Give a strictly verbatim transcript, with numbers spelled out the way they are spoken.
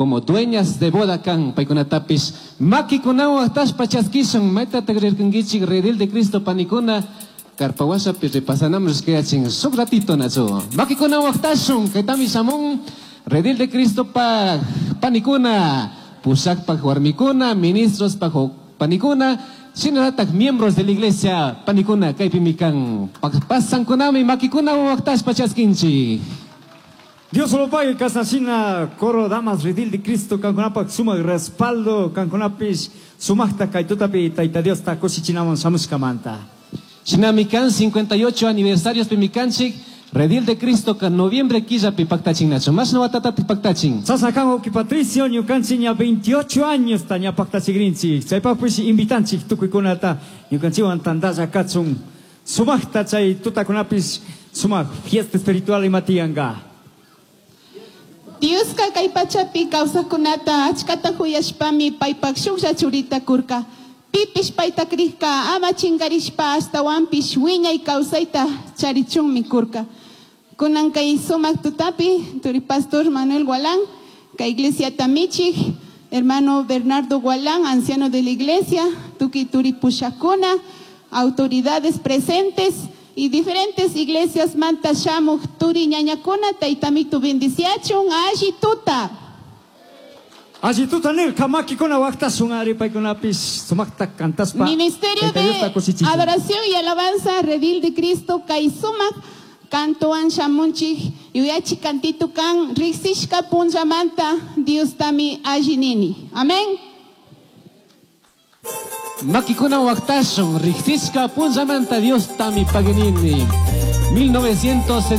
Como dueñas de boda kan paykunatapis makikunawan waqtashpa chaskishun. Maytataq rirkankichik, Redil de Cristo panikuna? Karpawashapi repasanam rishkayachin shuk ratito, nachu? Makikunawan waqtashun. Kaytami shamun Redil de Cristo pa panikuna, pushakpak warmikuna, ministros pa panikuna, shinallatak miembros de la iglesia panikuna kaypimi kan. Pasankunami, makikunawan waqtashpa chaskinchik. Dios lo pague, kasnashina coro damas Redil de Cristo kankunapak sumak respaldo, kankunapish sumakta kay tutapi Tayta Diosta kushichinaman shamushkamanta. Shinami kan cincuenta y ocho aniversarios pimikanchik Redil de Cristo ka noviembre killapi paktachin, nachu? Mashna watatati paktachin? Chashna kan, wawki Patricio, ñukanchik ña veintiocho años ta ña paktachigrinchik. Chaypaqpish invitanchik tukuykunata ñukanchikwan tantalla kachun. Sumakta chay tutakunapis sumak fiesta espiritual ima tiyanka. Dioska kay pachapi kawsaqkunata achkata huyashpami paypak shuklla churita kurka. Pipish payta krikka ama chinkarishpa ashtawanpish wiñay kawsayta charichunmi kurka. Kunan kay sumak tutapi, turi pastor Manuel Gualán, kay iglesia michik, hermano Bernardo Gualán, anciano de la iglesia, tuki turi pushakuna, autoridades presentes y diferentes iglesias manta shamuk turi ñañakuna, taytamitu bendiciachun, alli tuta. Alli tuta nirka, makikuna waqtashun ari paykunapis sumakta kantaspa. Ministerio Tayta Diosta de kushichichun. Adoración y Alabanza Redil de Cristo kay sumak kantowan shamunchik, yuyachi kantitu kan riksishka punllamanta Diostami alli nini. Amén. Makikuna waqtashun, riksishka punllamanta Diostami paginini. mil novecientos